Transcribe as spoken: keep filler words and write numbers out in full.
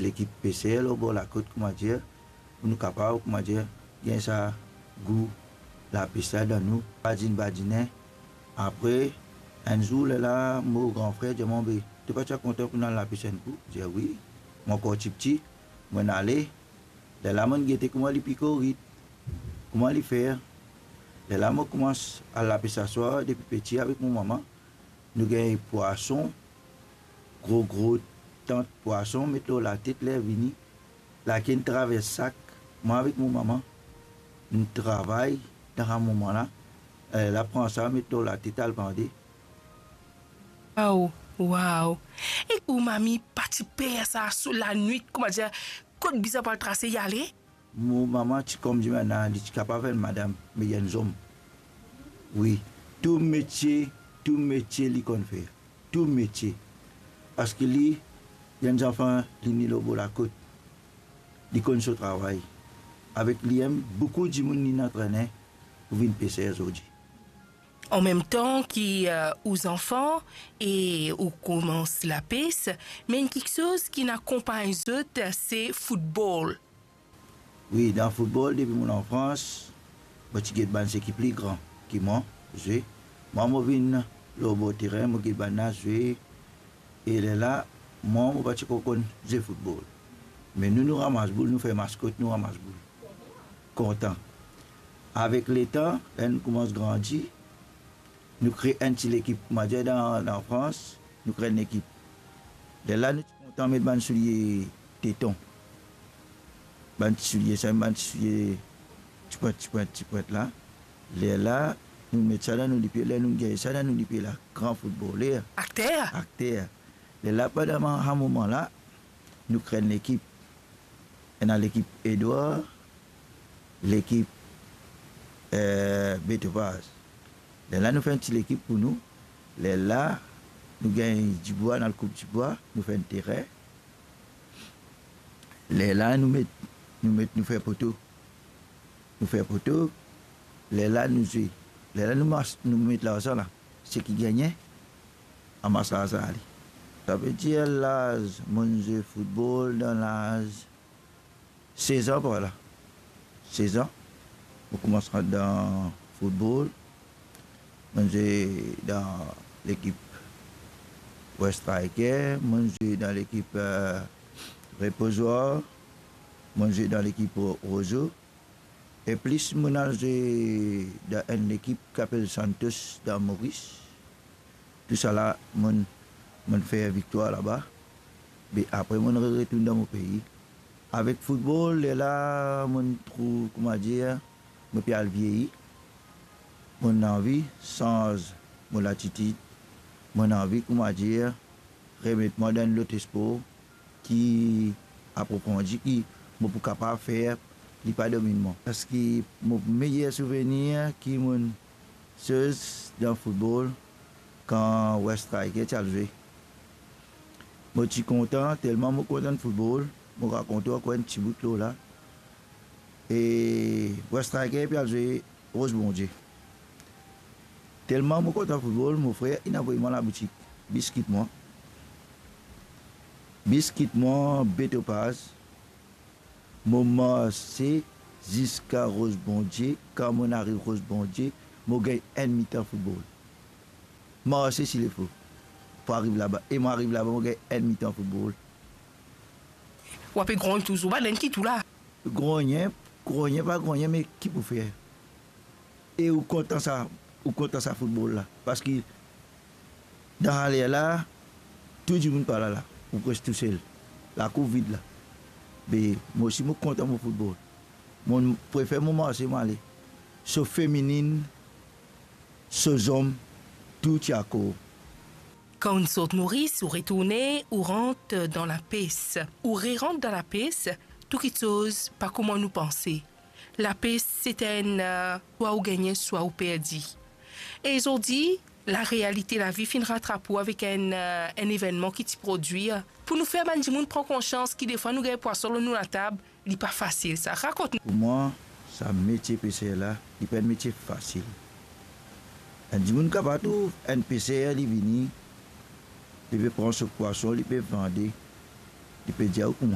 lekip peser lor bor lakot, koumadir, pou nou kapav, koumadir, gagn sa gou lapes la dan nou, badinn badinen. Apre, enn zour, lerla mo gran frer dir mwa, "Be, to pa ti a kontan pou nou al lapes enn kou?" Dir, "Wi, mo ankor tipti, mo'nn ale." Lerla mo'nn gete kouma li pikorit, kouma li fer. Lerla mo koumans al lapes aswar depi piti avek mo mama. Nou gagn pwason, gro gro tant pwason, met lor latet, ler vini, lakenn travers sak, mwa avek mo mama, nou travay dan sa moman la, eh, la pran sa, met lor latet, al vande. Waw, waw. E ou mami pa ti per sa, so lanwit, koumadir, kot bizin pou al trase, li ale? Mo mama ti, kouma dir bann la, li ti kapav enn madam, me li enn zom. Wi, tou metie, tou metie li konn fer. Tou metie. Parski li, li enn zanfan, li ne lor bor lakot. Li konn so travay. Avek li mem, boukou dimoun linn antrene pou vinn peser zordi. An mem tan ki, eh, ou zanfan e ou koumans lapes, me enn kiksoz ki'nn akonpagn zot, se foutbol. Wi, dan foutbol, depi mo lanfrans, mo ti get bann seki pli gran ki mwa zwe. Mwa, mo vinn lor bor terin, mo get bann la zwe. E lerla, mwa, mo pa ti konn zwe foutbol. Me nou, nou ramas boul, nou fer maskot, nou ramas boul. Kontan. Avek letan, ler nou koumans grandi, nou kre enn ti lekip, koumadir dan, dan Frans, nou kre enn lekip. Lerla, nou ti kontan met bann soulie teton. Bann ti soulie sa, bann ti soulie tipwint, tipwint, tipwint la. Lerla, nou met sa dan nou lipie, ler nou gagn sa dan nou lipie la, gran foutboler. Akter. Akter. Lerla, pandan sa moman la, nou kre enn lekip. Ena lekip Edwar, lekip, eh, Betopaz. Lerla nou fer enn ti lekip pou nou. Lerla nou gagn dibwa, nou al koup dibwa, nou fer enn terin. Lerla nou met, nou met, nou fer poto. Nou fer poto, lerla nou zwe. Lerla nou mas-, nou met larzan la. Seki gagne, amas larzan ale. Savedir laz, mo'nn zwe foutbol dan laz sez an par la. Sez an, mo koumans rant dan foutbol. Mo'nn zwe dan lekip West Striker, mo'nn zwe dan lekip, eh, Repozoir, mo'nn zwe dan lekip Ro-, Rozo. E plis mo'nn al zwe dan enn lekip ki apel Santos dan Moris. Tousala mo'nn, mo'nn fer viktwar laba. Be apre mo'nn retourn dan mo pei. Avek foutbol, lerla mo'nn trouv, koumadir, mo pe al vieyi. Mo'nn anvi sanz mo latitid. Mo'nn anvi, koumadir, remet mwa dan enn lot spor ki aprofondi, ki mo pou kapav fer, li pa dominn mwa. Parski mo meyer souvenir ki mo'nn soz dan foutbol, kan West Striker ti al zwe. Mo ti kontan, telman mo kontan foutbol, mo rakont ou ankor enn ti bout lor la. E West Striker pe al zwe Roz Bondie. Telman mo kontan foutbol, mo frer inn avoy mwa laboutik, bis kit mwa. Bis kit mwa Betopaz. Mo marse ziska Roz Bondie. Kan mo'nn ariv Roz Bondie, mo gagn enn mitan foutbol. Marse si lefo pou ariv laba. E mo ariv laba, mo gagn enn mitan foutbol. Ou ape grogn touzour, bann enn ki tou la. Grogne, grogne, pa grogne, me ki pou fer? E ou kontan sa, ou kontan sa foutbol la. Parski dan sa ler la, tou dimoun pa la la, ou pres tousel. Lakour vid la. Be, mo osi mo kontan mo foutbol. Mo prefer mo marse, mo ale. So feminin, so zom, tou ti akor. Kan ou'nn sort Moris, ou retourne, ou rant dan lapes. Ou rerant dan lapes, tou kiksoz pa kouma nou panse. Lapes, se enn, eh, swa ou gagne, swa ou perdi. E zordi, larealite lavi finn ratrap ou avek enn, eh, enn evennman ki ti prodwir. Pou nou fer bann dimoun pran konsians ki defwa nou gagn pwason lor nou latab, li pa fasil sa. Rakont nou. Pou mwa, sa metie peser la, li pa enn metie fasil. Enn dimoun kapav trouv enn peser, li vini, li pe pran so pwason, li pe vande, li pe dir ou kouma